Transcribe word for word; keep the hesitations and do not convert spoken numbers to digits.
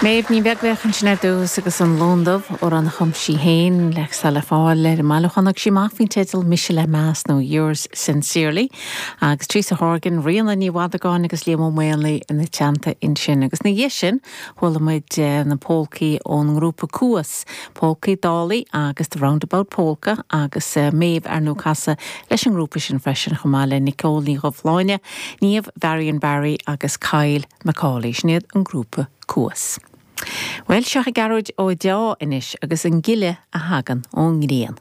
Méabh Ní Bheaglaoich ansin ar dtús agus an Lón Dubh amhrán a chum sí féin le le fáil ar an mbailiúchán a thug sí amach faoin teideal Mise le Meas nó Yours Sincerely agus Teresa Horgan, Ríona Ní Mhadagáin agus Liam Ó Maonlaí ina teannta ansin agus ina dhiaidh sin chuala muid eh, na polcaí ón ngrúpa Cuas, Polcaí Dálaí agus The Roundabout Polka agus eh, Méabh ar ndóigh ag casadh leis an ngrúpa sin freisin chomh maith le Nicole Ní Dhubhshláine, Niamh Varian Barry agus Kyle Macaulay sin iad an grúpa Cuas. Well seo Gearóid Ó Deá anois agus an gile a thagann ón ngrian.